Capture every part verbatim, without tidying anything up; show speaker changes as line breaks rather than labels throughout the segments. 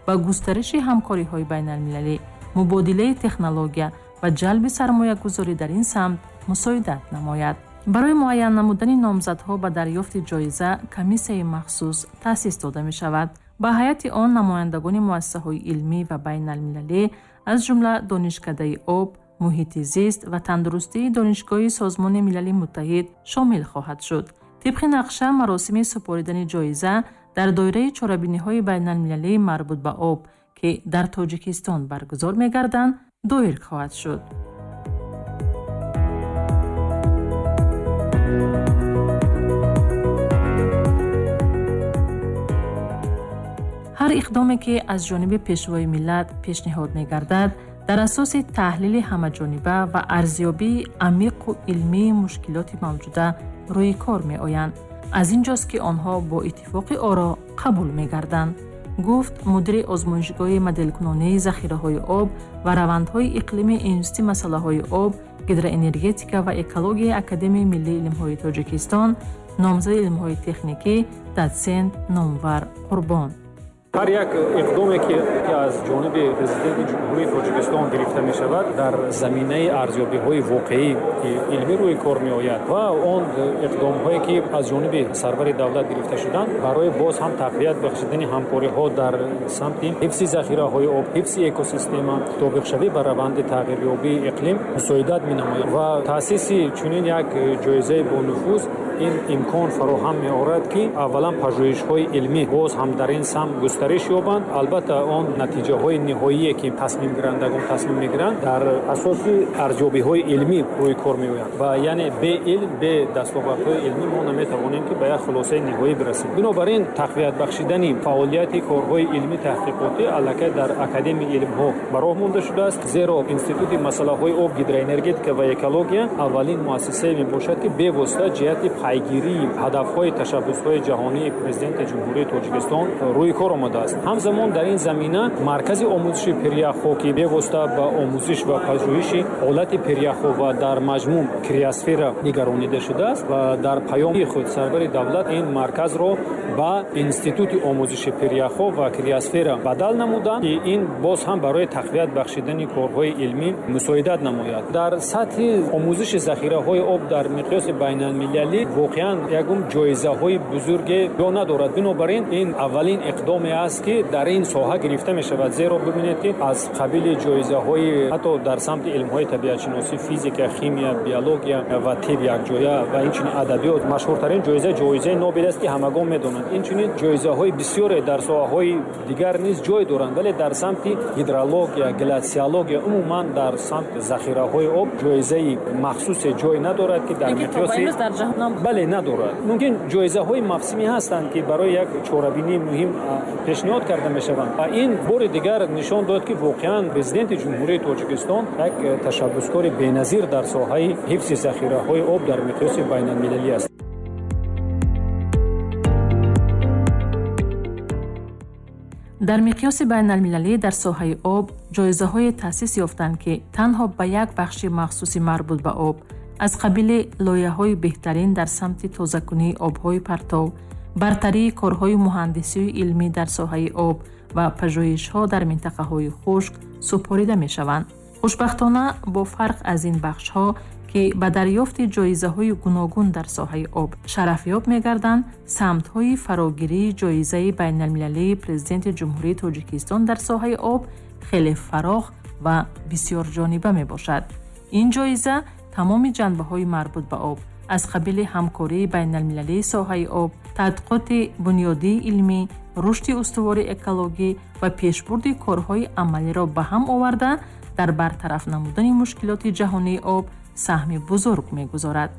ба густариши ҳамкориҳои байналмилалӣ, мубодилаи технология ва ҷалби сармоягузорӣ дар ин самт мусоидат намояд. Барои муайян намудани номзадҳо ба дарёфти ҷоиза комиссияи махсус таъсис дода мешавад. Ба ҳайати он намояндагони муассисаҳои илмӣ ва байналмилалӣ, аз ҷумла Донишкадаи об, муҳити зист ва тандурустии Донишгоҳи Созмони Милали Муттаҳид шомил хоҳад шуд. Тибқи нақша, маросими супоридани ҷоиза дар доираи чорабиниҳои байналмилалии марбут ба об, ки дар Тоҷикистон баргузор мегарданд, доир хоҳад шуд. Ҳар иқдоме, ки аз ҷониби Пешвои миллат пешниҳод мегардад, дар асоси таҳлили ҳамаҷониба ва арзёбии амиқу илмии мушкилоти мавҷуда рӯи кор меоянд. Аз ин ҷост, ки онҳо бо иттифоқи оро қабул мегарданд, гуфт мудири озмоишгоҳи моделкунонии захираҳои об ва равандҳои иқлими Институти масъалаҳои об, гидроэнергетика ва экологияи Академияи миллии илмҳои Тоҷикистон, номзади илмҳои техникӣ, дотсент Номвар Қурбон.
Ҳар як иқдоме, ки аз ҷониби Президенти Ҷумҳурии Тоҷикистон гирифта мешавад, дар заминаи арзёбиҳои воқеӣ илмӣ рӯи кор меояд ва он иқдомҳое, ки аз ҷониби сарвари давлат гирифта шуданд, барои боз ҳам тақвият бахшидани ҳамкориҳо дар самти ҳифзи захираҳои об, ҳифзи экосистема, мутобиқшавӣ ба раванди тағйирёбии иқлим мусоидат менамояд ва таъсиси чунин як ҷоизаи бонуфуз ин имкон фароҳам меорад, ки аввалан пажӯҳишҳои илмӣ боз ҳам дар ин самт густариш ёбанд. Албатта, он натиҷаҳои ниҳоие, ки тасмимгирандагон тасмим мегиранд, дар асоси арзёбиҳои илмӣ рӯи кор меоянд ва яъне бе илм, бе дастовардҳои илмӣ мо наметавонем, ки ба як хулосаи ниҳоӣ бирасем. Бинобар ин, тақвият бахшидани фаъолияти корҳои илмӣ таҳқиқотӣ аллакай дар Академияи илмҳо ба роҳ монда шудааст, зеро Институти масъалаҳои об, гидроэнергетика ва экология аввалин муассисае мебошад, ки бевосита ҷиҳати пайгирии ҳадафҳои ташаббусҳои ҷаҳонии Президенти Ҷумҳурии Тоҷикистон рӯи кор омадааст. Ҳамзамон дар ин замина маркази омӯзиши пиряхҳо, ки бевосита ба омӯзиш ва пажӯҳиши ҳолати пиряхҳо ва дар маҷмӯъ криосфера нигаронида шудааст ва дар паёми худ сарвари давлат ин марказро ба Институти омӯзиши пиряхҳо ва криосфера бадал намуданд, ки ин боз ҳам барои тақвият бахшидани корҳои илмӣ мусоидат намояд. Дар сатҳи омӯзиши захираҳои об дар миқёси байналмилалӣ воқеан ягон ҷоизаҳои бузурге ҷо надорад. Бинобар ин, ин аввалин иқдоме аст, ки дар ин соҳа гирифта мешавад, зеро бибинед, ки аз қабили ҷоизаҳои ҳатто дар самти илмҳои табиатшиносӣ, физика, химия, биология ва тиб якҷоя ва инчунин адабиёт машҳуртарин ҷоиза ҷоизаи Нобел аст, ки ҳамагон медонанд. Инчунин ҷоизаҳои бисёре дар соҳаҳои дигар низ ҷой доранд, вале дар самти гидрология, глятсиология, умуман дар самти захираҳои об ҷоизаи махсусе ҷой надорад, ки дар миқёси бале надорад. Мумкин ҷоизаҳои мавсимӣ ҳастанд, ки барои як чорабинии муҳим пешниҳод карда мешаванд ва ин бори дигар нишон дод, ки воқеан Президенти Ҷумҳурии Тоҷикистон як ташаббускори беназир дар соҳаи ҳифзи захираҳои об дар миқёси байналмилалӣ аст.
Дар миқёси байналмилалӣ дар соҳаи об ҷоизаҳое таъсис ёфтанд, ки танҳо ба як бахши махсуси марбут ба об, аз қабили лоиҳаҳои беҳтарин дар самти тозакунии обҳои партов, бартарии корҳои муҳандисию илмӣ дар соҳаи об ва пажӯҳишҳо дар минтақаҳои хушк супорида мешаванд. Хушбахтона, бо фарқ аз ин бахшҳо, ки ба дарёфти ҷоизаҳои гуногун дар соҳаи об шарафёб мегарданд, самтҳои фарогирии ҷоизаи байналмилалии Президенти Ҷумҳурии Тоҷикистон дар соҳаи об хеле фарох ва бисёрҷониба мебошад. Ин ҷоиза тамоми ҷанбаҳои марбут ба об, аз қабили ҳамкории байналмилалии соҳаи об, тадқиқоти бунёдии илмӣ, рушди устувори экологӣ ва пешбурди корҳои амалиро ба ҳам оварда, дар бартараф намудани мушкилоти ҷаҳонии об саҳми бузург мегузорад.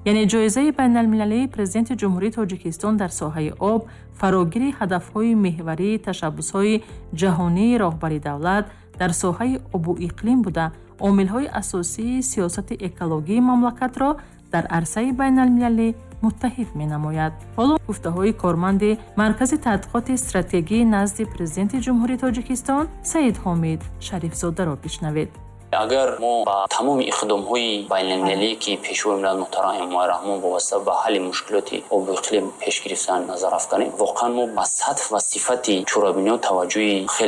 Яъне ҷоизаи байналмилалии Президенти Ҷумҳурии Тоҷикистон дар соҳаи об фарогири ҳадафҳои меҳварии ташаббусҳои ҷаҳонии роҳбари давлат дар соҳаи обу иқлим буда, омилҳои асосии сиёсати экологии мамлакатро дар арсаи байналмилалӣ муттаҳид менамояд. Ҳоло гуфтаҳои корманди Маркази тадқиқоти стратегии назди Президенти Ҷумҳурии Тоҷикистон Саид Ҳомид Шарифзодаро бишнавед.
Агар мо ба тамоми иқдомҳои байналмилалие, ки Пешвои миллат муҳтарам Эмомалӣ Раҳмон вобаста ба ҳалли мушкилоти обу иқлим пеш гирифтан, назар афканем, воқеан мо ба сатҳ ва сифати чорабиниҳо таваҷҷӯҳи хеле